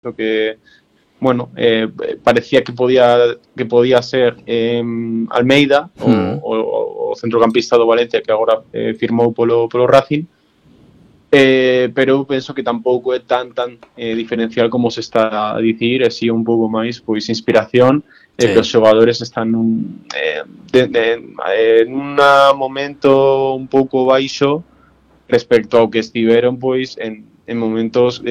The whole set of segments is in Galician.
lo que, bueno, parecía que podía ser Almeida, o centrocampista do Valencia, que agora firmou polo Racing. Pero eu penso que tampouco é tan diferencial como se está a dicir, e si un pouco máis pois inspiración, que os xogadores están nun momento un pouco baixo respecto ao que estiveron pois en momentos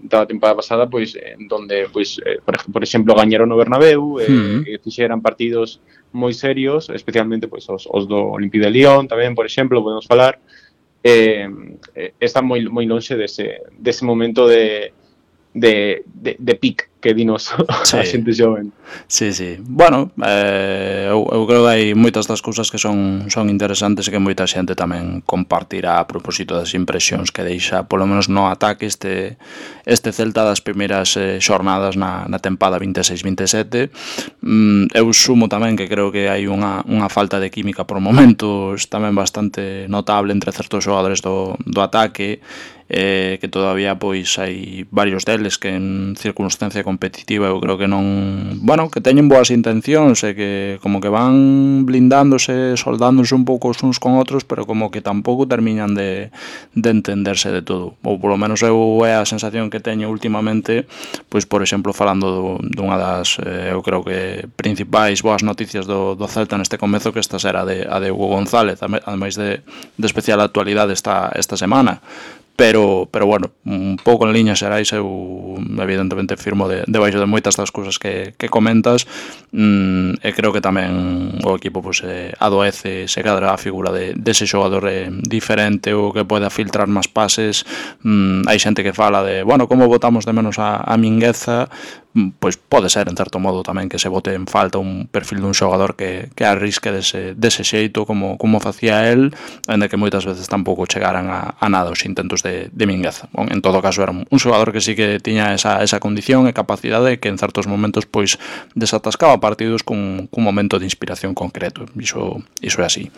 da temporada pasada, pois en donde pois por exemplo gañaron no Bernabéu, e fixeran partidos moi serios, especialmente pois os do Olympique de Lyon tamén, por exemplo, podemos falar. Está moi lonxe dese momento de pic que dinos a xente xoven. Sí. Bueno, eu creo que hai moitas das cousas que son interesantes e que moita xente tamén compartirá a propósito das impresións que deixa, polo menos no ataque, este Celta das primeiras xornadas na tempada 26-27. Eu sumo tamén que creo que hai unha falta de química por momentos tamén bastante notable entre certos xogadores do ataque, que todavía pois hai varios deles que en circunstancia competitiva eu creo que non, bueno, que teñen boas intencións e que como que van blindándose, soldándose un pouco uns con outros, pero como que tampouco terminan de entenderse de todo, ou polo menos é a sensación que teño últimamente, pois por exemplo falando dunha das eu creo que principais boas noticias do Celta neste comezo, que esta será a de Hugo González, ademais de especial actualidade esta semana. Pero bueno, un pouco en liñas xerais eu evidentemente firmo debaixo de moitas das cousas que comentas, e creo que tamén o equipo pois adoece se cadra a figura dese xogador diferente ou que poida filtrar máis pases. Hai xente que fala de, bueno, como botamos de menos a Mingueza, pois pode ser en certo modo tamén que se bote en falta un perfil dun xogador que arrisque dese xeito como facía el, ainda que moitas veces tampouco chegaran a nada os intentos de Mingueza. Bon, en todo caso era un xogador que sí que tiña esa condición e capacidade que en certos momentos pois desatascaba partidos cun momento de inspiración concreto. Iso é así.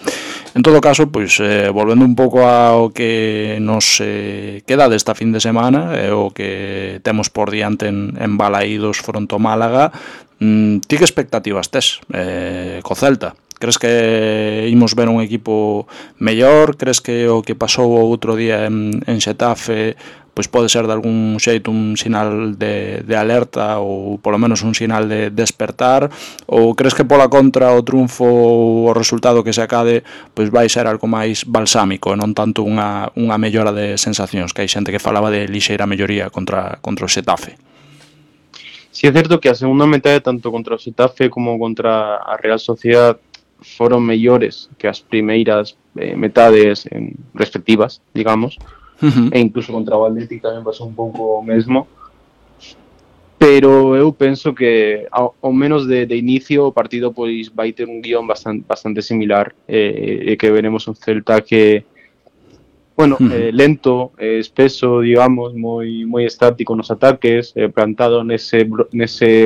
En todo caso, pois volvendo un pouco ao que nos queda desta fin de semana e o que temos por diante en Balaídos fronte ao Málaga, ti que expectativas tes co Celta? Crees que imos ver un equipo mellor? Crees que o que pasou o outro día en Xetafe pois pode ser de algún xeito un sinal de alerta ou polo menos un sinal de despertar? Ou crees que pola contra o triunfo ou o resultado que se acade pois vai ser algo máis balsámico e non tanto unha mellora de sensacións, que hai xente que falaba de lixeira melloría contra o Xetafe? Sí, é certo que a segunda metade, tanto contra o Xetafe como contra a Real Sociedad, foron mellores que as primeiras metades respectivas, digamos, e incluso contra o Atlético tamén pasou un pouco o mesmo, pero eu penso que ao menos de inicio o partido pois vai ter un guión bastante similar, e que veremos un Celta que, bueno, lento, espeso, digamos, moi estático nos ataques, plantado nese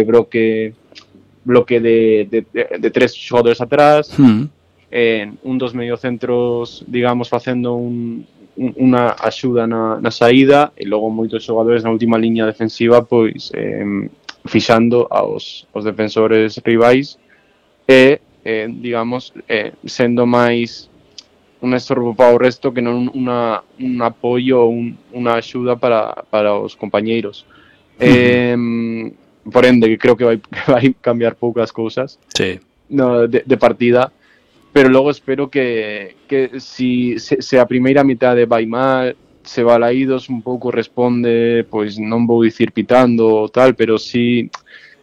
bloque de tres xogadores atrás, un dos mediocentros, digamos, facendo unha axuda na saída, e logo moitos xogadores na última liña defensiva pois fixando aos defensores rivais e, digamos, sendo máis un estorbo para o resto que non un apoio ou unha axuda para os compañeiros. Por ende, que creo que vai cambiar poucas cousas de partida, pero logo espero que se a primeira mitade vai mal, se Balaídos un pouco responde, pois non vou dicir pitando ou tal, pero sí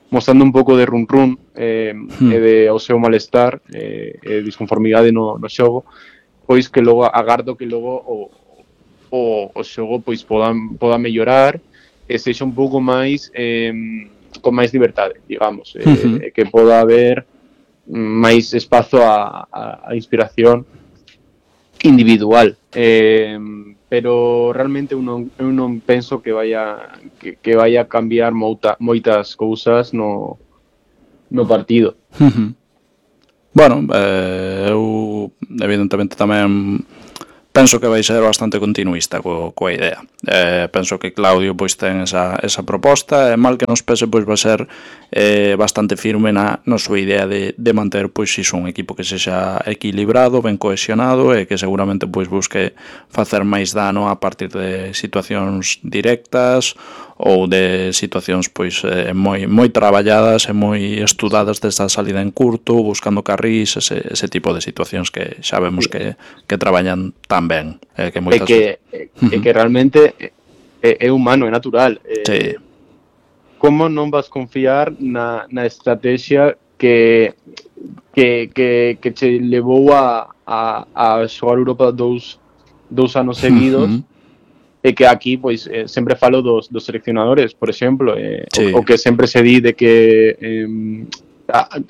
mostrando un pouco de run e de o seu malestar e disconformidade no xogo, pois que logo agardo que logo o xogo pois poda mellorar e sexa un pouco máis con máis liberdade, digamos, que poda haber máis espazo a inspiración individual, pero realmente eu non penso que vaya a cambiar moitas cousas no partido. Bueno, eu evidentemente tamén penso que vai ser bastante continuista coa idea. Penso que Claudio pois ten esa proposta, e mal que nos pese pois vai ser bastante firme na súa idea de manter pois iso, un equipo que sexa equilibrado, ben cohesionado e que seguramente pois busque facer máis dano a partir de situacións directas ou de situacións pois moi traballadas e moi estudadas desta salida en curto, buscando carrís, ese tipo de situacións que xa vemos que traballan tan ben, que moitas que realmente é humano, é natural. Sí. Como non vas confiar na estrategia que che levou a xogar Europa dous anos seguidos? E que aquí, pois, sempre falo dos seleccionadores, por exemplo, sí. o que sempre se di de que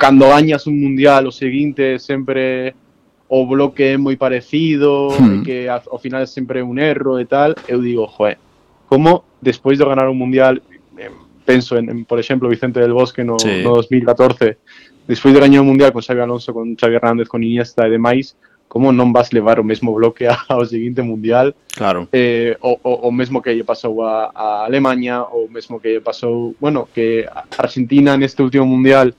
cando gañas un mundial o seguinte sempre o bloque é moi parecido, e que ao final é sempre un erro e tal. Eu digo, como despois de ganar un mundial, penso en por exemplo, Vicente del Bosque no 2014, despois de gañar un mundial con Xavi Alonso, con Xavi Hernández, con Iniesta e demais, como non vas levar o mesmo bloque ao seguinte mundial? Claro. O mesmo que lle pasou a Alemanha, o mesmo que lle pasou, bueno, que a Argentina neste último mundial,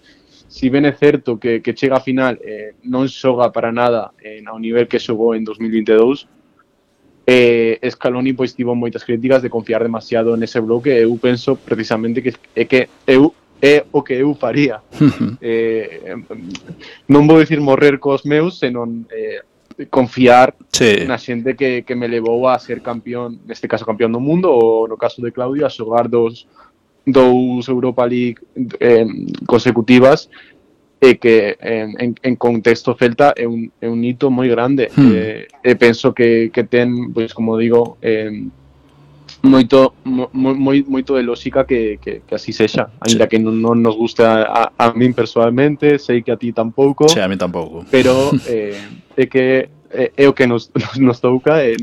si ben é certo que chega a final, non xoga para nada ao nivel que xogou en 2022. Scaloni pois tivo moitas críticas de confiar demasiado nese bloque. Eu penso precisamente que é o que eu faría. Non vou dicir morrer cos meus, senón confiar na xente que me levou a ser campeón, neste caso campeón do mundo, ou no caso de Claudio, a xogar dous Europa League consecutivas, e que en contexto celta é un hito moi grande. Penso que ten, pois como digo, moito de lógica que así sexa, ainda que non nos guste a min personalmente, sei que a ti tampouco. Sí, a mí tampouco. Pero é que é o que nos toca e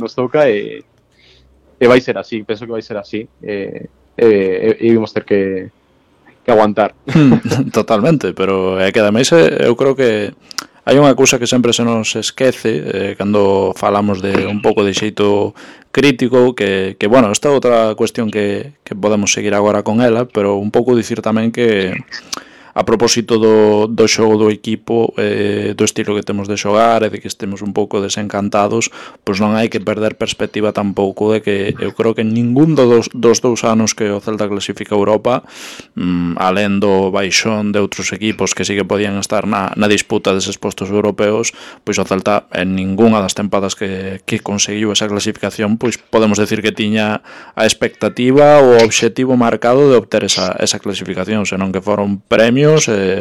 vai ser así, penso que vai ser así. E vamos ter que aguantar. Totalmente, pero é que ademais eu creo que hai unha cousa que sempre se nos esquece cando falamos de un pouco de xeito crítico, que bueno, esta é outra cuestión que podemos seguir agora con ela, pero un pouco dicir tamén que a propósito do xogo do equipo, do estilo que temos de xogar e de que estemos un pouco desencantados, pois non hai que perder perspectiva tampouco de que eu creo que ningún dos 2 anos que o Celta clasifica a Europa, alén do baixón de outros equipos que sí que podían estar na disputa deses postos europeos, pois o Celta en ningunha das tempadas que conseguiu esa clasificación, pois podemos decir que tiña a expectativa ou o obxectivo marcado de obter esa clasificación, senón que foron premios,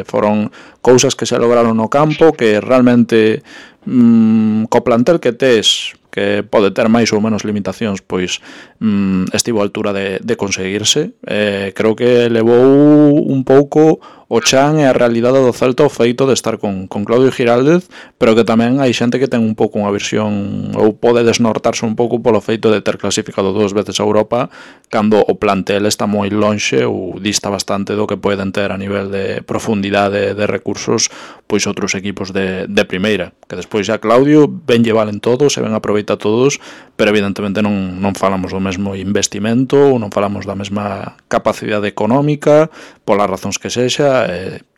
foron cousas que se lograron no campo, que realmente co plantel que tes, que pode ter máis ou menos limitacións, pois estivo a altura de conseguirse. Creo que levou un pouco o chan e a realidade do Celta o feito de estar con Claudio Giraldez, pero que tamén hai xente que ten un pouco unha visión ou pode desnortarse un pouco polo feito de ter clasificado 2 veces a Europa cando o plantel está moi lonxe ou dista bastante do que poden ter a nivel de profundidade de recursos pois outros equipos de primeira, que despois xa Claudio ben lle valen todos e ben aproveita todos, pero evidentemente non falamos do mesmo investimento ou non falamos da mesma capacidade económica polas razóns que sexa.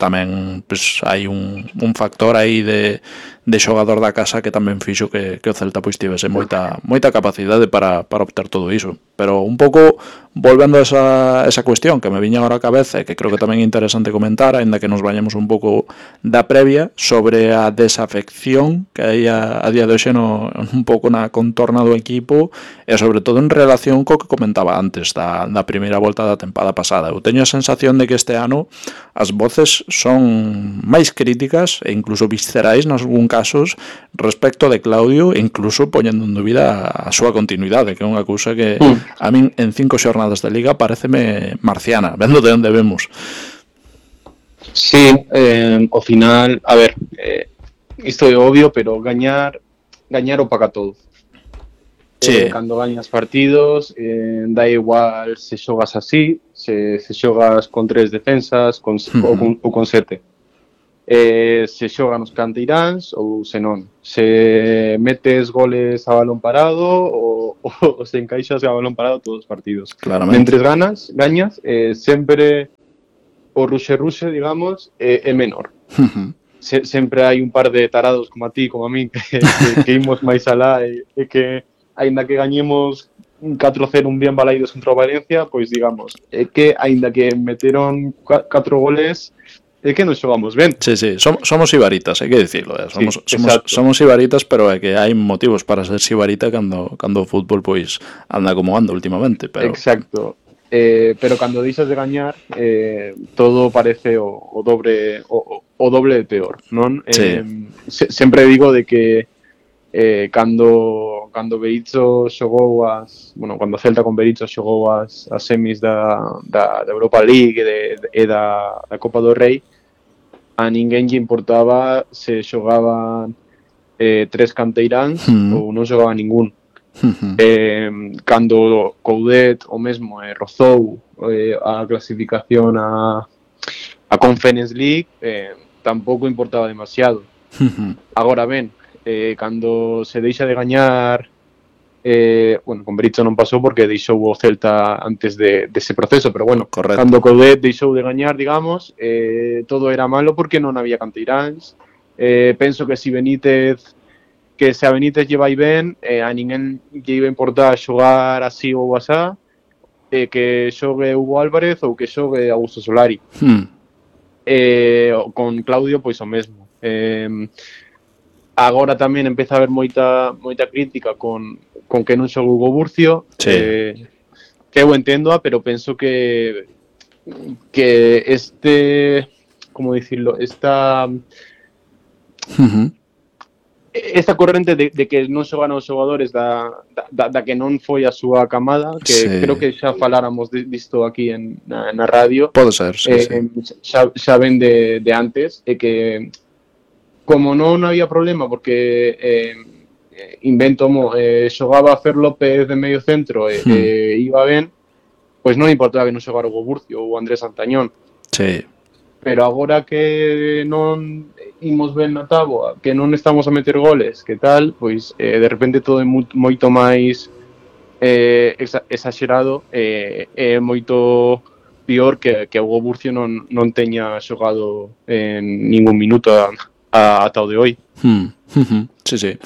Tamén pois, hai un factor aí de xogador da casa que tamén fixo que o Celta pois tivese moita capacidade para obter todo iso. Pero un pouco volvendo a esa cuestión que me viña agora a cabeza e que creo que tamén é interesante comentar, aínda que nos bañemos un pouco da previa, sobre a desafección que hai a día de hoxe un pouco na contorna do equipo e sobre todo en relación co que comentaba antes da primeira volta da tempada pasada. Eu teño a sensación de que este ano as voces son máis críticas e incluso viscerais nos algún casos respecto de Claudio, incluso poñendo en dúbida a súa continuidade, que é unha cousa que a min en 5 xornadas de Liga pareceme marciana, vendo de onde vemos. Sí, ao final, a ver, isto é obvio, pero gañar opaca todo. Sí. Cando gañas partidos, da igual se xogas así, se xogas con 3 defensas ou con 7. se xogan os canteiráns ou se non, se metes goles a balón parado ou se encaixas a balón parado todos os partidos. Mentres gañas, sempre o ruxe, digamos, é menor. Sempre hai un par de tarados como a ti, como a mí, que imos máis alá e que, aínda que gañemos 4-0 un día en Balaidos contra o Valencia, pois digamos, que aínda que meteron 4 goles, é que nos xogamos ben. Sí, somos ibaritas, hai que dicirlo. Somos ibaritas, pero é que hai motivos para ser ibarita cando o fútbol pois anda como anda últimamente. Pero... Exacto. Pero cando deixas de gañar, todo parece o doble de peor, non? Sí. Sempre digo de que cando Berizzo xogou cando Celta con Berizzo xogou as semis da Europa League e da Copa do Rei, a ninguén lle importaba se xogaban 3 canteiráns ou non xogaba ningún. Cando Coudet o mesmo rozou a clasificación a Conference League, tampouco importaba demasiado. Agora ben, cando se deixa de gañar, con Berizzo non pasou porque deixou o Celta antes dese proceso, pero bueno, correcto. Cando Coudet deixou de gañar, digamos, todo era malo porque non había canteiráns. Penso que se a Benítez lle vai ben, a ninguén lle iba a importar xogar así ou asá, que xogue Hugo Álvarez ou que xogue Augusto Solari. Con Claudio, pois o mesmo. Agora tamén empeza a haber moita crítica con que non xogue Hugo Burcio, que eu enténdoa, pero penso que como dicirlo, esta corrente de que non xogan os xogadores da que non foi a súa camada, que creo que xa faláramos disto aquí na radio. Pode ser, sí. Xa ven de antes, e que como non había problema porque xogaba a Fer López de medio centro e iba ben, pois non importaba que non xogara o Burcio ou Andrés Santañón. Sí. Pero agora que non imos ben na táboa, que non estamos a meter goles, que tal, pois de repente todo é moito máis exagerado, é moito pior que o Burcio non teña xogado en ningún minuto ata o de hoy. Sí.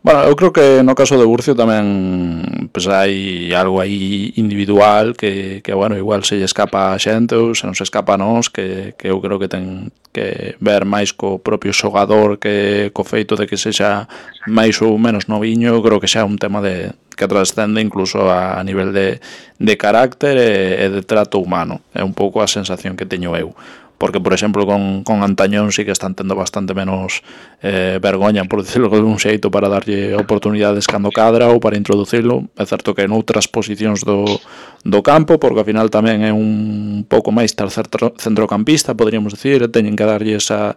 Bueno, eu creo que no caso de Burcio tamén pues, hai algo aí individual que bueno, igual se lle escapa a xente ou se non se escapa a nós, que eu creo que ten que ver máis co propio xogador que co feito de que sexa máis ou menos noviño. Eu creo que xa é un tema que trascende incluso a nivel de carácter e de trato humano. É un pouco a sensación que teño eu. Porque, por exemplo, con Antañón sí que están tendo bastante menos vergoña, por decirlo de un xeito, para darlle oportunidades cando cadra ou para introducirlo. É certo que en outras posicións do campo, porque ao final tamén é un pouco máis tercer centrocampista, podríamos decir, teñen que darlle esa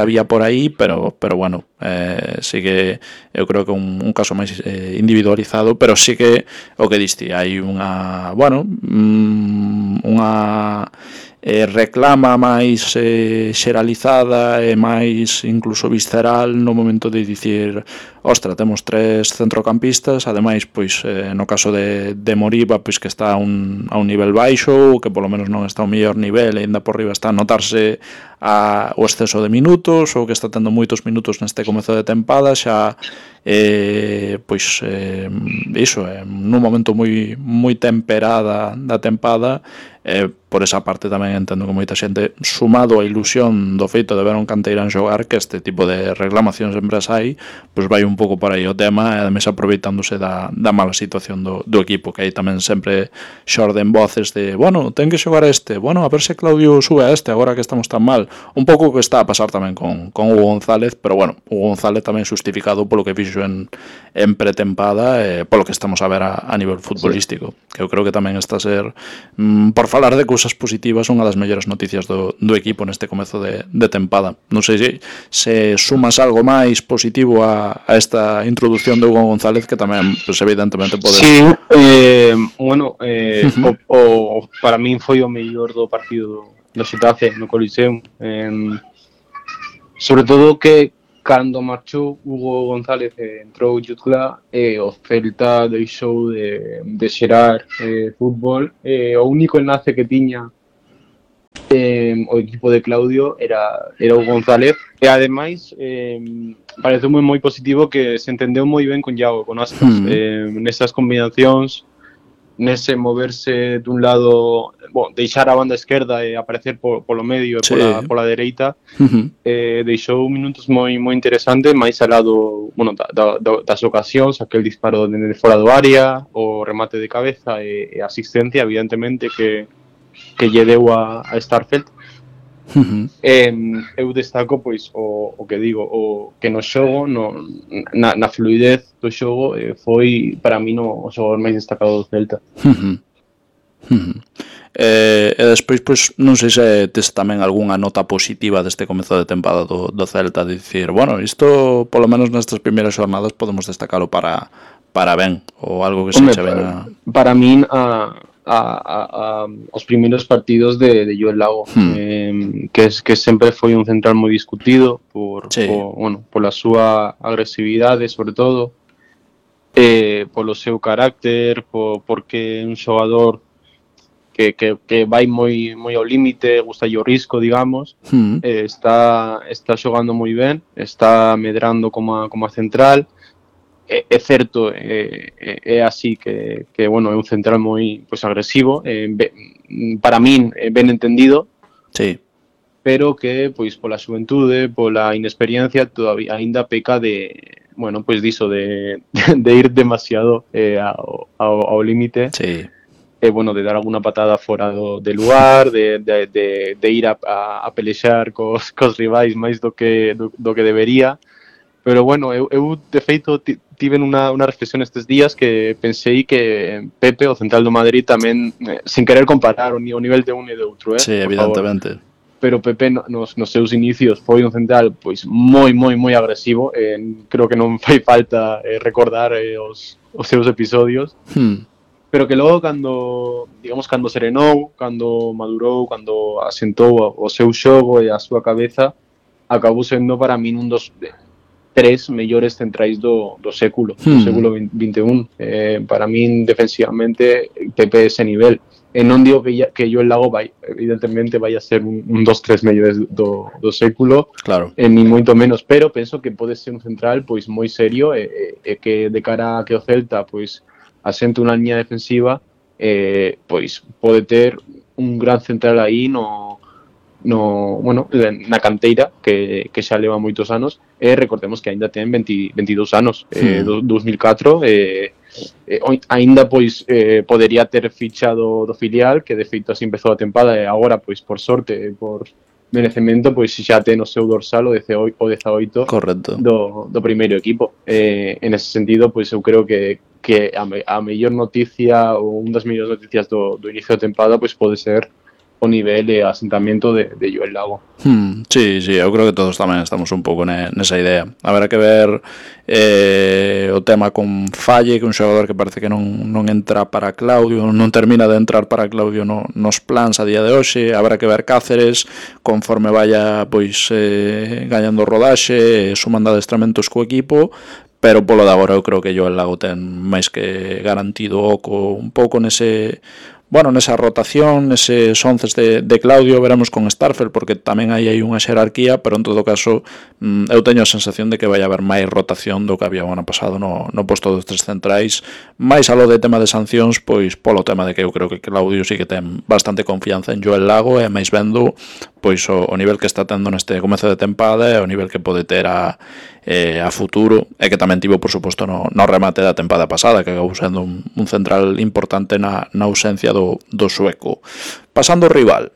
vía por aí, pero bueno, sí que eu creo que un caso máis individualizado, pero sí que o que diste, hai unha reclama máis xeralizada e máis incluso visceral no momento de dicir, ostra, temos 3 centrocampistas, ademais, pois, no caso de Moriba, pois que está a un nivel baixo, ou que polo menos non está ao mellor nivel, e ainda por riba está a notarse o exceso de minutos, ou que está tendo moitos minutos neste comezo de tempada, xa pois iso, nun momento moi temperada da tempada. Por esa parte tamén entendo que moita xente, sumado a ilusión do feito de ver un canteirán xogar, que este tipo de reclamacións sempre as hai, pois vai un pouco por aí o tema, e ademais aproveitándose da mala situación do equipo, que aí tamén sempre xorden voces de, bueno, ten que xogar este, bueno, a ver se Claudio sube a este agora que estamos tan mal. Un pouco o que está a pasar tamén con Hugo González, pero bueno, Hugo González tamén justificado polo que fixo en pretempada, polo que estamos a ver a nivel futbolístico, que eu creo que tamén está a ser, por falar de cousas positivas, unha das mellores noticias do equipo neste comezo de tempada. Non sei se sumas algo máis positivo a esta introducción de Hugo González, que tamén, pues, evidentemente pode... Sí, bueno, para min foi o mellor do partido do Xetafe no Coliseum. Sobre todo que cando marchou Hugo González entrou Jutla, o Celta deixou de xerar fútbol, o único enlace que tiña o equipo de Claudio era o González, e ademais parece moi positivo que se entendeu moi ben con Iago, con Aspas, nesas combinacións, nese moverse dun lado, deixar a banda esquerda e aparecer polo medio e pola dereita, deixou minutos moi interesantes, máis alá das ocasións, aquel disparo de fora do área, o remate de cabeza e asistencia, evidentemente, que lle deu a Starfelt. Eu destaco pois o que digo, o que no xogo, na fluidez do xogo, foi para mí o xogador máis destacado do Celta. E despois, pois, non sei se tes tamén algunha nota positiva deste comezo de tempada do Celta, de dicir, bueno, isto polo menos nestas primeiras xornadas podemos destacalo para ben, ou algo que se eche ben a... Para min, os primeiros partidos de Joel Lago, que sempre foi un central moi discutido pola súa agresividade, sobre todo, polo seu carácter, porque é un xogador que vai moi ao límite, gusta o risco, digamos, está xogando moi ben, está medrando como a central. É certo, é así que bueno, é un central moi agresivo, para min ben entendido, pero que pois pola xuventude, pola inexperiencia, todavía aínda peca de ir demasiado ao límite. De dar alguna patada fora do lugar, de ir a pelexar cos rivais máis do que debería. Pero bueno, eu de feito tiven unha reflexión estes días que pensei que Pepe, o central do Madrid, tamén, sin querer comparar o nivel de un e de outro, Sí, evidentemente. Pero Pepe nos seus inicios foi un central pois moi agresivo, creo que non fai falta recordar os seus episodios. Pero que logo cando serenou, cando madurou, cando asentou o seu xogo e a súa cabeza, acabou sendo para min un dos 3 mellores centrais do século XXI. Para min, defensivamente, Pepe ese nivel. E non digo que Joel Lago evidentemente vai a ser un dos 3 mellores do século, ni moito menos, pero penso que pode ser un central pois moi serio e que de cara a que o Celta pois asente unha liña defensiva, pois pode ter un gran central aí na canteira que xa leva moitos anos, e recordemos que aínda ten 22 anos, 2004, aínda pois podería ter fichado do filial, que de feito así empezou a tempada, e agora pois por sorte, por merecemento, pois xa ten o seu dorsal o 18 do primeiro equipo. En ese sentido, pois eu creo que a mellor noticia, ou unha das mellores noticias do inicio da tempada, pois pode ser o nivel e asentamento de Joel Lago. Sí, eu creo que todos tamén estamos un pouco nesa idea. Haberá que ver o tema con Falle, que é un xogador que parece que non entra para Claudio, non termina de entrar para Claudio nos plans a día de hoxe. Habrá que ver Cáceres conforme vaya pois gañando rodaxe, sumando adestramentos co equipo, pero polo de agora eu creo que Joel Lago ten máis que garantido oco un pouco nesa rotación, neses 11 de Claudio. Veremos con Starfelt, porque tamén hai unha xerarquía, pero en todo caso eu teño a sensación de que vai haber máis rotación do que había o ano pasado no posto dos 3 centrais, máis aló de tema de sancións, pois polo tema de que eu creo que Claudio sí que ten bastante confianza en Joel Lago, e máis vendo pois o nivel que está tendo neste comezo de tempada e o nivel que pode ter a futuro, e que tamén tivo, por suposto, no remate da tempada pasada, que acabou sendo un central importante na ausencia do sueco. Pasando ao rival,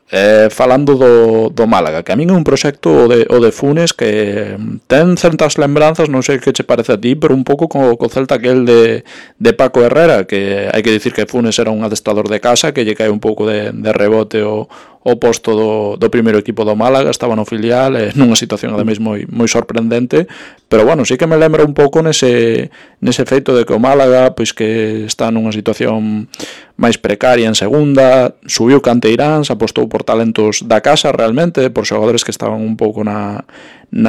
falando do Málaga, que a min é un proxecto o de Funes que ten certas lembranzas, non sei que che parece a ti, pero un pouco co Celta aquel de Paco Herrera, que hai que dicir que Funes era un adestrador de casa, que lle cae un pouco de rebote o posto do primeiro equipo do Málaga, estaba no filial, nunha situación ademais moi sorprendente, pero bueno, sí que me lembra un pouco nese feito de que o Málaga pois que está nunha situación máis precaria en segunda, subiu canteiráns, apostou por talentos da casa realmente, por xogadores que estaban un pouco na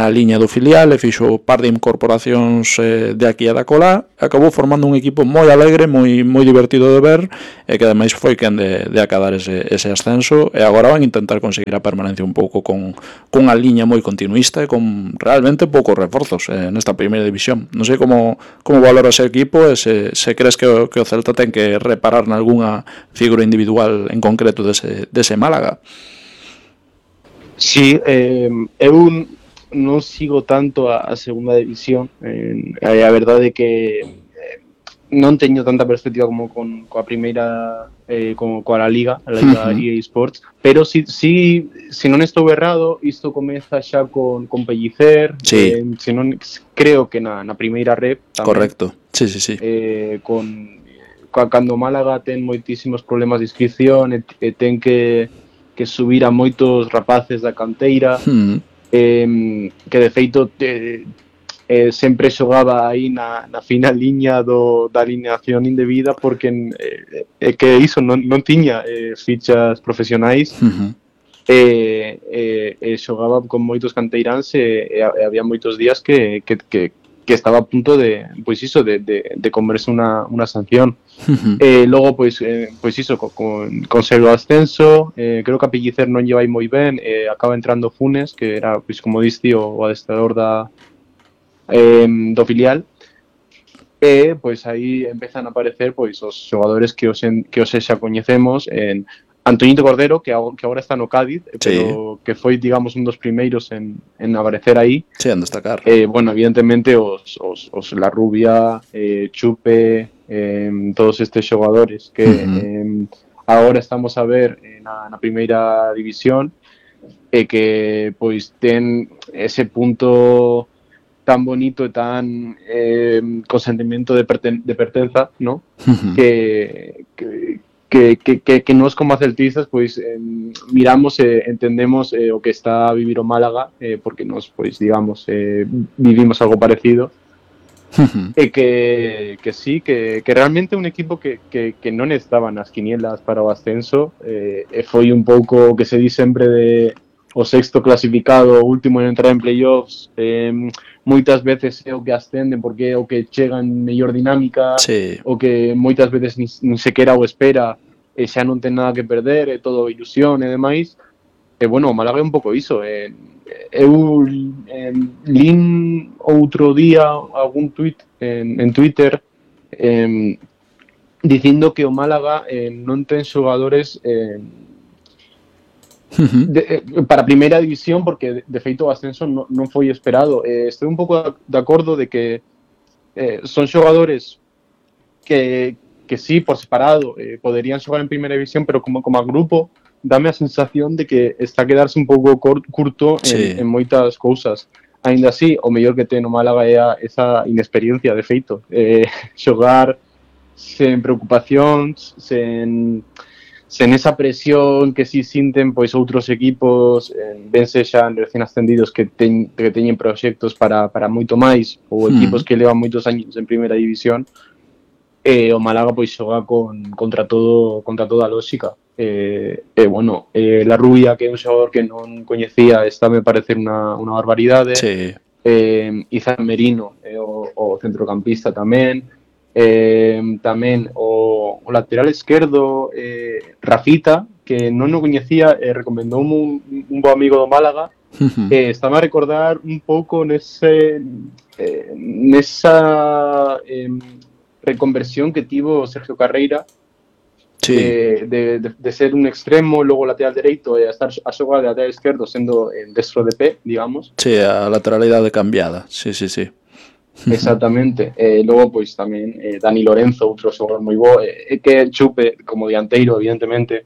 liña do filial, e fixo par de incorporacións de aquí e da colá, acabou formando un equipo moi alegre, moi divertido de ver, e que ademais foi quen de acadar ese ascenso, e agora van intentar conseguir a permanencia un pouco con a liña moi continuista e con realmente poucos reforzos nesta primeira división. Non sei como valora ese equipo e se crees que o Celta ten que reparar nalgúnha figura individual en concreto dese Málaga. Sí, eu non sigo tanto a segunda división, a verdade é que non teño tanta perspectiva como coa primeira, como coa Liga EA Sports, pero si non estou errado, isto comeza xa con Pellicer, sí. Se non creo que na primeira rep tamén. Correcto, sí. Cando Málaga ten moitísimos problemas de inscripción e ten que subir a moitos rapaces da canteira, que de feito sempre xogaba aí na fina liña da alineación indebida, porque que iso non tiña fichas profesionais, e xogaba con moitos canteiráns, e había moitos días que estaba a punto de comerse unha sanción. Logo, pois iso, consegue o ascenso, creo que a Pellicer non lle vai moi ben, acaba entrando Funes, que era, pois como diste, o adestrador do filial, e pois aí empezan a aparecer pois os xogadores que hoxe xa coñecemos, en Antoñito Cordero, que agora está no Cádiz, pero que foi, digamos, un dos primeiros en aparecer aí. Sí, en destacar. Bueno, evidentemente os La Rubia, Chupe, todos estes xogadores que agora estamos a ver na primeira división, e que pois ten ese punto tan bonito e tan con sentimento de pertenza, ¿no? Que nós como celtistas pois miramos e entendemos o que está a vivir o Málaga, porque nós pois digamos vivimos algo parecido, e que sí, que realmente un equipo que non estaba nas quinielas para o ascenso, e foi un pouco o que se di sempre de o sexto clasificado, o último en entrar en playoffs, moitas veces é o que ascenden porque é o que chega en mellor dinámica, o que moitas veces nin sequera o espera e xa non ten nada que perder, é todo ilusión e demais. E bueno, o Málaga é un pouco iso. Eu lin outro día algún tuit en Twitter dicindo que o Málaga non ten xogadores para a primeira división, porque de feito o ascenso non foi esperado. Estou un pouco de acordo de que son xogadores que sí, por separado, poderían xogar en primeira división, pero como a grupo dame a sensación de que está a quedarse un pouco curto en moitas cousas. Ainda así, o mellor que ten o Málaga é esa inexperiencia, de feito, xogar sen preocupacións, sen esa presión que si sinten pois outros equipos, vense xa recén ascendidos que teñen proxectos para moito máis, ou equipos que levan moitos años en primeira división. O Málaga pois xoga contra toda a lógica. Bueno, La Rubia, que é un xogador que non coñecía, está me parecer unha barbaridade. Izan Merino, o centrocampista tamén. Tamén o lateral esquerdo, Rafita, que non o coñecía, recomendoume un bo amigo do Málaga. Estaba a recordar un pouco nesa reconversión que tivo Sergio Carreira, de ser un extremo, logo lateral dereito, e a estar a xogar de lateral esquerdo sendo destro de pé, digamos. Sí, a lateralidade cambiada, sí. Exactamente. Logo, pois, tamén Dani Lorenzo, outro xogador moi bo, que Chupe, como dianteiro, evidentemente.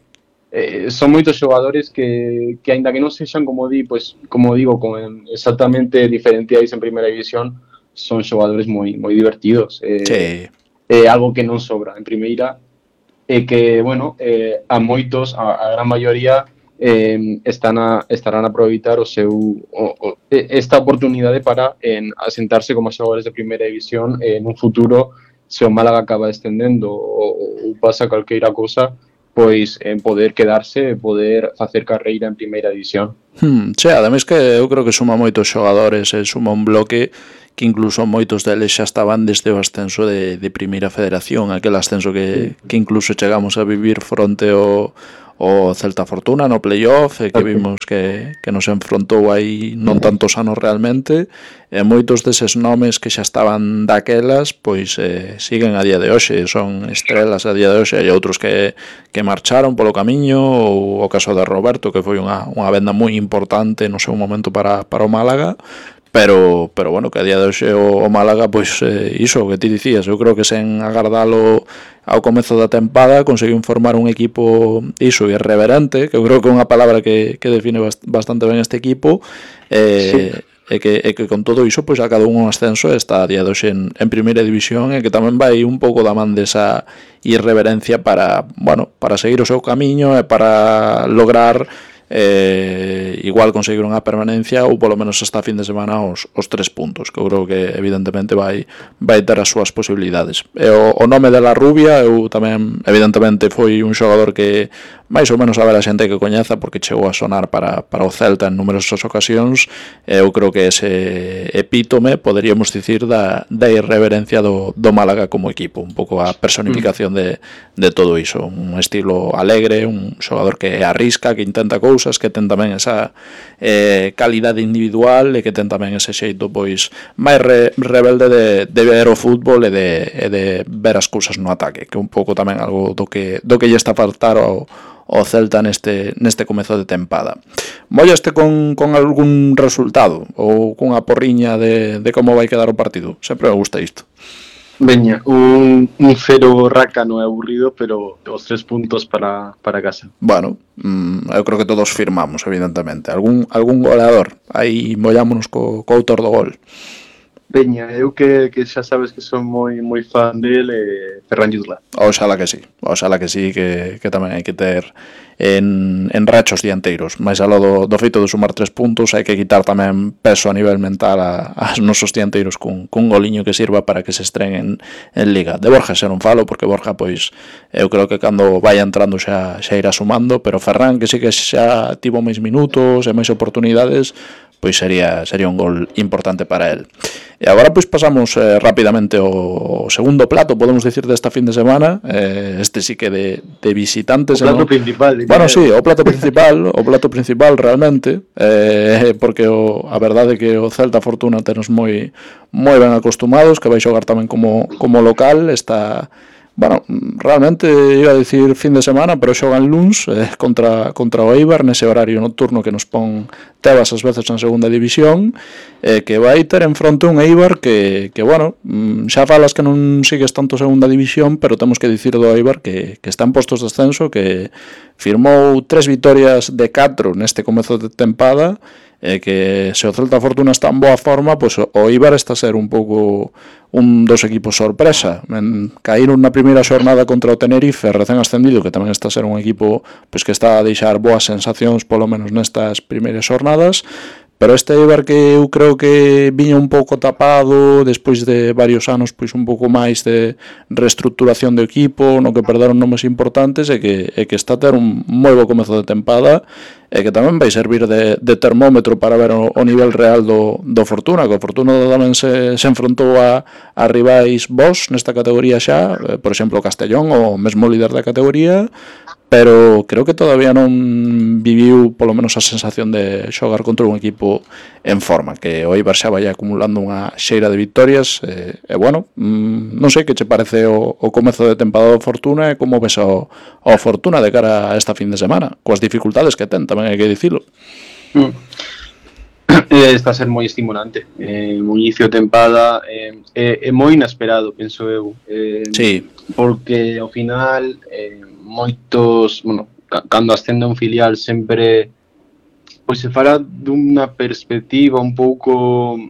Son moitos xogadores que aínda que non sexan, como digo, con exactamente diferenciais en primeira división, son xogadores moi divertidos. Algo que non sobra en primeira, e que, bueno, a moitos, a gran maioría, estarán a aproveitar esta oportunidade para asentarse como xogadores de primeira división en un futuro se o Málaga acaba descendendo ou pasa calqueira cousa, pois en poder quedarse e poder facer carreira en primeira división. Sí, ademais que eu creo que suma moitos xogadores e suma un bloque que incluso moitos deles xa estaban desde o ascenso de Primeira Federación, aquel ascenso que incluso chegamos a vivir fronte o Celta Fortuna no playoff, que vimos que nos enfrontou aí non tantos anos realmente, e moitos deses nomes que xa estaban daquelas pois siguen a día de hoxe, son estrelas a día de hoxe, e outros que marcharon polo camiño, ou o caso de Roberto, que foi unha venda moi importante no seu momento para o Málaga, pero bueno, que a día de hoxe o Málaga, pois iso que ti dicías, eu creo que sen agardalo ao comezo da tempada conseguiu formar un equipo iso, irreverente, que eu creo que é unha palabra que define bastante ben este equipo, sí. E que con todo iso pois acadou un ascenso e está a día de hoxe en primeira división, e que tamén vai un pouco da man desa irreverencia para seguir o seu camiño e para lograr igual conseguir unha permanencia ou polo menos esta fin de semana os 3 puntos, que eu creo que evidentemente vai ter as súas posibilidades. E o nome de La Rubia, eu tamén evidentemente foi un xogador que máis ou menos a ver a xente que coñeza, porque chegou a sonar para o Celta en numerosas ocasións, e eu creo que ese epítome, poderíamos dicir, da irreverencia do Málaga como equipo, un pouco a personificación de todo iso, un estilo alegre, un xogador que arrisca, que intenta cousas, que ten tamén esa calidade individual, e que ten tamén ese xeito pois máis rebelde de ver o fútbol e de ver as cousas no ataque, que un pouco tamén algo do que lle está a faltar ao Celta neste comezo de tempada. Mollaste con algún resultado ou cunha porriña de como vai quedar o partido? Sempre me gusta isto. Veña, un 0 rácano e aburrido, pero os 3 puntos para casa. Bueno, eu creo que todos firmamos, evidentemente. Algún goleador? Aí mollámonos co autor do gol. Veña, eu que xa sabes que son moi fan del, Ferran Jutgla. Oxalá que sí, que tamén hai que ter en rachos dianteiros. Mais aló do feito de sumar 3 puntos, hai que quitar tamén peso a nivel mental aos nosos dianteiros cun goliño que sirva para que se estrenen en Liga. De Borja xa non falo, porque Borja, pois, eu creo que cando vai entrando xa irá sumando, pero Ferran, que sí que xa tivo máis minutos e máis oportunidades, pois sería un gol importante para él. E agora pois pasamos rapidamente ao segundo plato, podemos decir, desta fin de semana, este sí que de visitantes. O plato principal. Bueno, sí, o plato principal realmente, porque a verdade é que o Celta Fortuna tenos moi ben acostumados, que vai xogar tamén como local, está... Bueno, realmente iba a dicir fin de semana, pero xogan luns contra o Eibar nese horario nocturno que nos pon Tebas as veces na segunda división, que vai ter en fronte un Eibar que bueno, xa falas que non sigues tanto segunda división, pero temos que dicir do Eibar que está en postos de ascenso, que firmou 3 vitorias de 4 neste comezo de tempada, que se o Celta Fortuna está en boa forma, pois o Eibar está a ser un pouco un dos equipos sorpresa. Caíron na primeira xornada contra o Tenerife, recén ascendido, que tamén está a ser un equipo pois que está a deixar boas sensacións polo menos nestas primeiras xornadas, pero este Eibar que eu creo que viña un pouco tapado despois de varios anos, pois un pouco máis de reestructuración do equipo, no que perderon nomes importantes, e que está a ter un moi bo comezo de tempada, e que tamén vai servir de termómetro para ver o nivel real do Fortuna, que o Fortuna tamén se enfrontou a rivais bons nesta categoría xa, por exemplo Castellón, o mesmo líder da categoría, pero creo que todavía non viviu polo menos a sensación de xogar contra un equipo en forma, que o Eibar xa vai acumulando unha xeira de victorias, e bueno, non sei que che parece o comezo de tempada do Fortuna, e como ves o Fortuna de cara a esta fin de semana, coas dificultades que ten, tamén hai que dicilo. Está a ser moi estimulante, o inicio de tempada é moi inesperado, penso eu, sí. Porque ao final moitos, bueno, cando ascende un filial sempre pois se fala dunha perspectiva un pouco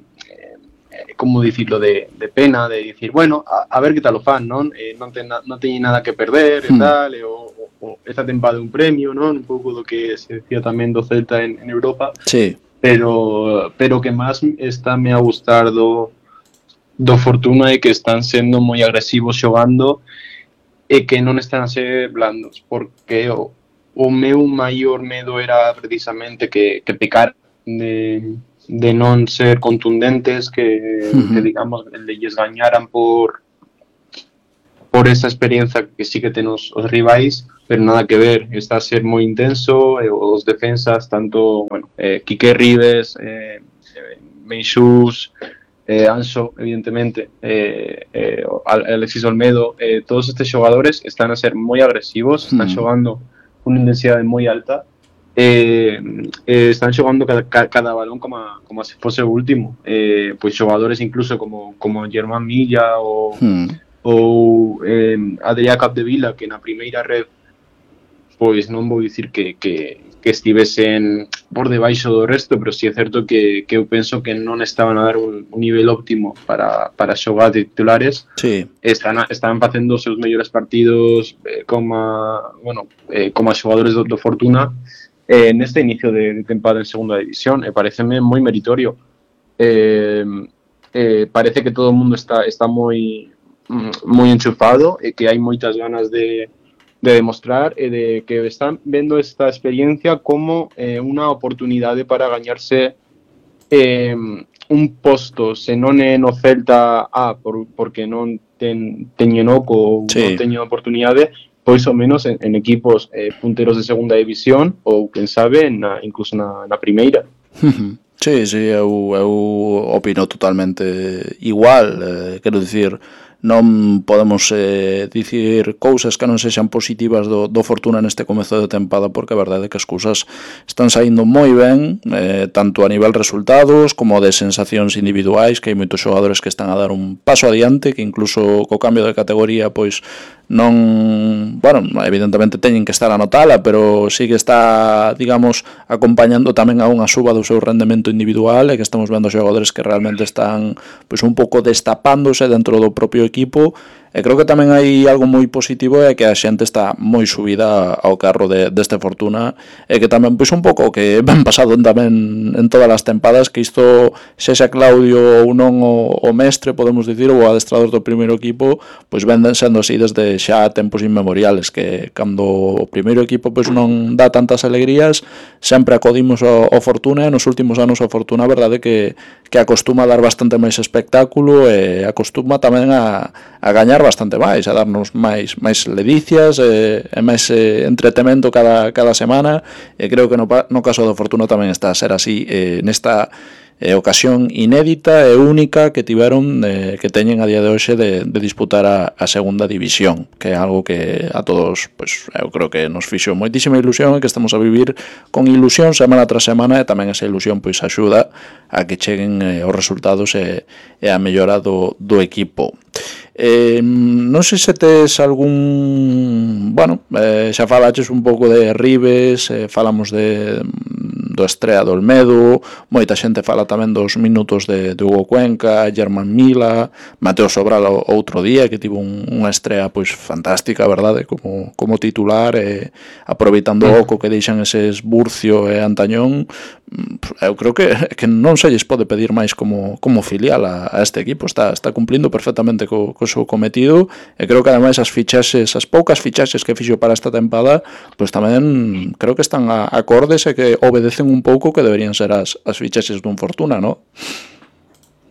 como dicirlo, de pena, de dicir, bueno, a ver que tal o fan, non? Non teñen nada que perder e tal, o esta tempada un premio, non? Un pouco do que se decía tamén do Celta en Europa. Sí. Pero que máis está me a gustar do do Fortuna é que están sendo moi agresivos xogando e que non están a ser blandos, porque o meu maior medo era precisamente que pecar de non ser contundentes, que digamos, lles gañaran por esa experiencia que sí que ten os rivais, pero nada que ver, está a ser moi intenso, os defensas, tanto, bueno, Quique Rives, Meixús, Anxo, evidentemente, Alexis Olmedo, todos estes xogadores están a ser moi agresivos, están xogando con unha intensidade moi alta, están xogando cada balón como se fose o último, pois xogadores incluso como Germán Milla ou Adrià Capdevila, que na primeira red pois non vou dicir que estivesen por debaixo do resto, pero si é certo que eu penso que non estaban a dar un nivel óptimo para xogar de titulares. Sí. Estaban facendo os seus mellores partidos como xogadores do Fortuna neste inicio de tempada en segunda división, e pareceme moi meritorio. Parece que todo o mundo está moi enchufado e que hai moitas ganas de demostrar e de que están vendo esta experiencia como unha oportunidade para gañarse un posto, se non é no Celta porque non teñen oco ou non teñen oportunidade, pois ao menos en equipos punteros de segunda división ou, quen sabe, incluso na primeira. Sí, eu opino totalmente igual, quero dicir, non podemos dicir cousas que non sexan positivas do Fortuna neste comezo de tempada, porque a verdade é que as cousas están saindo moi ben, tanto a nivel resultados como de sensacións individuais, que hai moitos xogadores que están a dar un paso adiante, que incluso co cambio de categoría pois non, bueno, evidentemente teñen que estar a notala, pero sí que está, digamos, acompañando tamén a unha suba do seu rendemento individual, e que estamos vendo xogadores que realmente están pois un pouco destapándose dentro do propio equipo. E creo que tamén hai algo moi positivo, é que a xente está moi subida ao carro deste Fortuna, e que tamén pois un pouco que ben pasado tamén en todas as tempadas, que isto sexa Claudio ou non o mestre, podemos dicir, ou o adestrador do primeiro equipo, pois ven sendo así desde xa tempos inmemoriales, que cando o primeiro equipo pois non dá tantas alegrías, sempre acodimos ao Fortuna, e nos últimos anos o Fortuna a verdade que acostuma a dar bastante máis espectáculo, e acostuma tamén a gañar bastante máis, a darnos máis ledicias e máis entretemento cada semana, e creo que no caso do Fortuna tamén está a ser así nesta ocasión inédita e única que tiveron, que teñen a día de hoxe de disputar a segunda división, que é algo que a todos, pois, eu creo que nos fixo moitísima ilusión, e que estamos a vivir con ilusión semana tras semana, e tamén esa ilusión pois axuda a que cheguen os resultados e a mellora do equipo. Non sei se tes algún... Bueno, xa falaches un pouco de Rives, falamos do estrea do Olmedo, moita xente fala tamén dos minutos de Hugo Cuenca, Germán Mila, Mateo Sobral outro día, que tivo unha estrea pois fantástica, verdade, como titular, aproveitando o oco que deixan eses Burcio e Antañón. Eu creo que non se lles pode pedir máis como filial a este equipo, está cumplindo perfectamente co seu cometido, e creo que ademais as poucas fichaxes que fixo para esta tempada, pois tamén creo que están acordes e que obedecen un pouco que deberían ser as fichaxes dun Fortuna, non?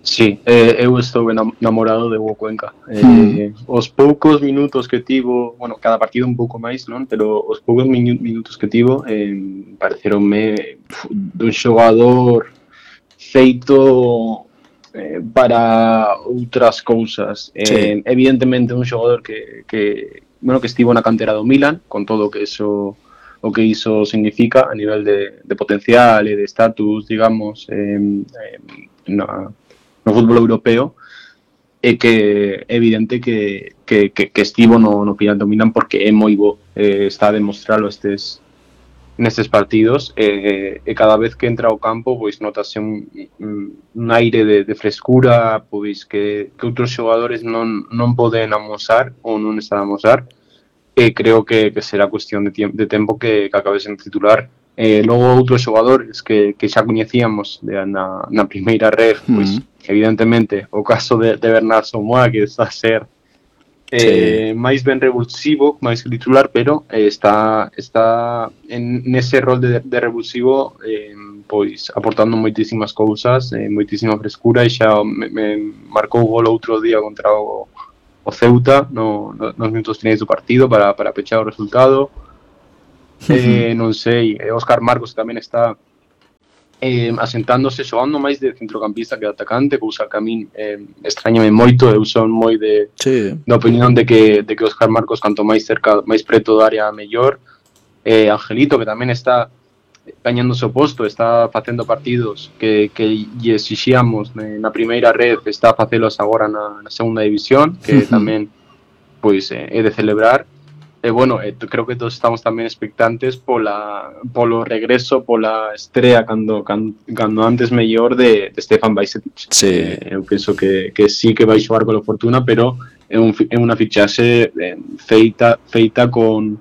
Sí, eu estou enamorado de Hugo Cuenca. Os poucos minutos que tivo, bueno, cada partido un pouco máis, non? Pero os poucos minutos que tivo pareceronme dun xogador feito para outras cousas. Evidentemente un xogador que estivo na cantera do Milan, con todo o que iso significa a nivel de potencial e de estatus, digamos, no fútbol europeo, e que é evidente que estivo no final do Milan porque é moi bo, está a demostralo nestes partidos, e cada vez que entra ao campo pois notase un aire de frescura, pois que outros xogadores non poden amosar ou non están a amosar, e creo que será cuestión de tempo que acabe sendo titular. Logo outros xogadores que xa coñecíamos na primeira red, pois evidentemente o caso de Bernard Somoa, que está a ser máis ben revulsivo, máis que titular, pero está nese rol de revulsivo, pois aportando moitísimas cousas, moitísima frescura, e xa me marcou o gol outro día contra o Ceuta nos minutos finais do partido para pechar o resultado. Non sei, Óscar Marcos tamén está asentándose, xogando máis de centrocampista que de atacante, cousa que a min extrañame moito. Eu son moi da opinión de que Óscar Marcos, canto máis cerca, máis preto da área, mellor. Angelito, que tamén está gañando o seu posto, está facendo partidos que lle exixíamos na primeira red, está a facelos agora na segunda división, que tamén pois é de celebrar. Bueno, creo que todos estamos tamén expectantes polo regreso, pola estrea cando antes mellor de Stefan Bajcetic. Eu penso que sí que vai xogar con Fortuna, pero é unha fichaxe feita con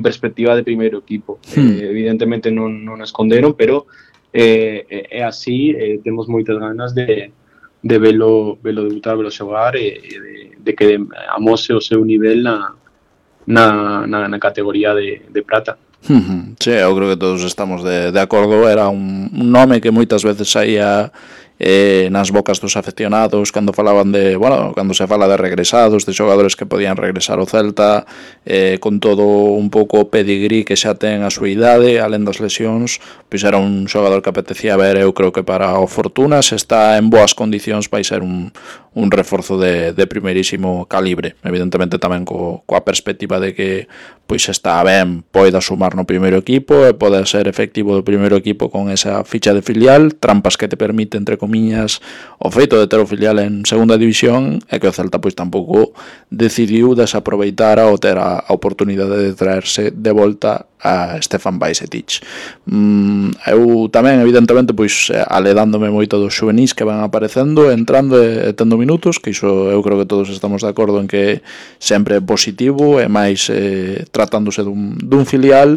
perspectiva de primeiro equipo. Evidentemente non esconderon, pero é así. Temos moitas ganas de velo debutar, velo xogar, e de que amose o seu nivel na categoría de prata. Sí, eu creo que todos estamos de acordo. Era un nome que moitas veces saía nas bocas dos afeccionados cando falaban cando se fala de regresados, de xogadores que podían regresar ao Celta, con todo un pouco o pedigrí que xa ten a súa idade, alén das lesións, pois era un xogador que apetecía ver. Eu creo que para o Fortuna, se está en boas condicións, vai ser un reforzo de primeirísimo calibre, evidentemente tamén coa perspectiva de que pois está ben, poida sumar no primeiro equipo e pode ser efectivo do primeiro equipo con esa ficha de filial, trampas que te permite, entre comiñas, o feito de ter o filial en segunda división, e que o Celta pois tampouco decidiu desaproveitar ao ter a oportunidade de traerse de volta a Stefan Bajcetic. Eu tamén, evidentemente, pois aledándome moito dos xuvenis que van aparecendo, entrando e tendo minutos, que iso eu creo que todos estamos de acordo en que sempre é positivo, e máis tratándose dun filial.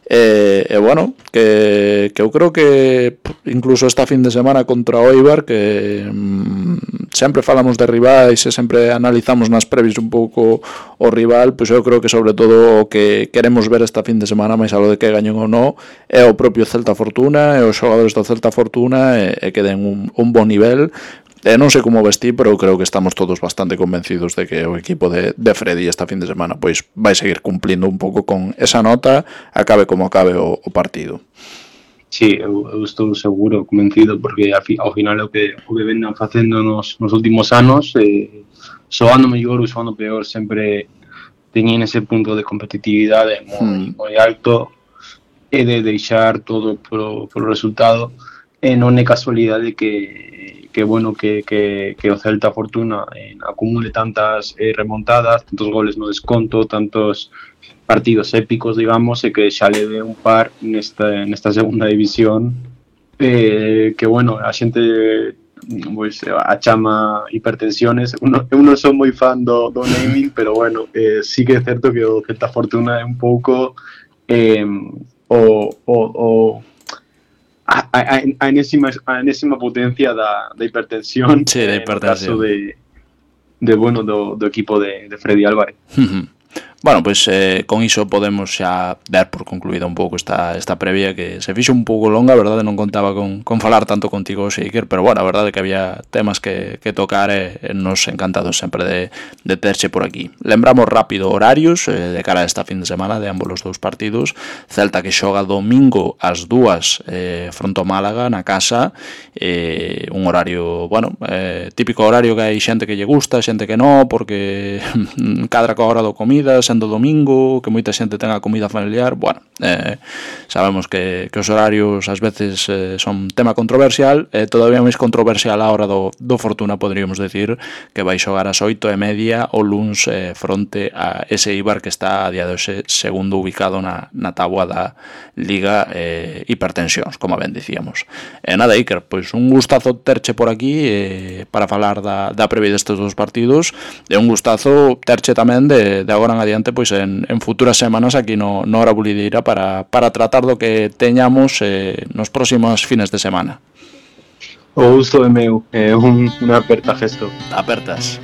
Bueno, que eu creo que incluso esta fin de semana contra o Eibar, que sempre falamos de rivais e sempre analizamos nas previs un pouco o rival, pois eu creo que sobre todo o que queremos ver esta fin de semana, máis algo de que gañen ou non, é o propio Celta Fortuna e os xogadores do Celta Fortuna, e que den un bon nivel. Non sei como vestir, pero eu creo que estamos todos bastante convencidos de que o equipo de Freddy esta fin de semana pois vai seguir cumplindo un pouco con esa nota, acabe como acabe o partido. Sí, eu estou seguro, convencido, porque ao final o que vendan facendo nos últimos anos, xoando mellor ou xoando peor, sempre teñen ese punto de competitividade moi alto, e de deixar todo pro resultado. Non é casualidade que o Celta Fortuna acumule tantas remontadas, tantos goles no desconto, tantos partidos épicos, digamos, e que xa leve un par nesta segunda división, que a xente pois a chama hipertensiones. Eu non son moi fan do naming, pero sí que é certo que o Celta Fortuna é un pouco a enésima potencia da hipertensión, sí, da hipertensión. No caso do equipo de Freddy Álvarez. Bueno, pois con iso podemos xa dar por concluída un pouco esta previa, que se fixo un pouco longa, a verdade, non contaba con falar tanto contigo, Seiker, pero a verdade que había temas que tocar, e nos encantados sempre de terche por aquí. Lembramos rápido horarios de cara a esta fin de semana de ambos os dous partidos. Celta que xoga domingo ás 2 fronte ao Málaga na casa, un horario, típico horario que hai xente que lle gusta, xente que non, porque cadra coa hora do comida, sendo domingo, que moita xente ten a comida familiar. Sabemos que os horarios ás veces son tema controversial, e todavía máis controversial a hora do Fortuna, poderíamos decir, que vai xogar ás 8:30 o luns fronte a ese Eibar que está a día de hoxe segundo ubicado na táboa da Liga Hipertensións, como ben dicíamos. Nada, Iker, pois un gustazo terche por aquí para falar da previa destes dos partidos, e un gustazo terche tamén de agora en adiante, pois en futuras semanas aquí no Hora Bulideira para tratar do que teñamos nos próximos fines de semana. O uso é meu, é unha aperta gesto. Apertas.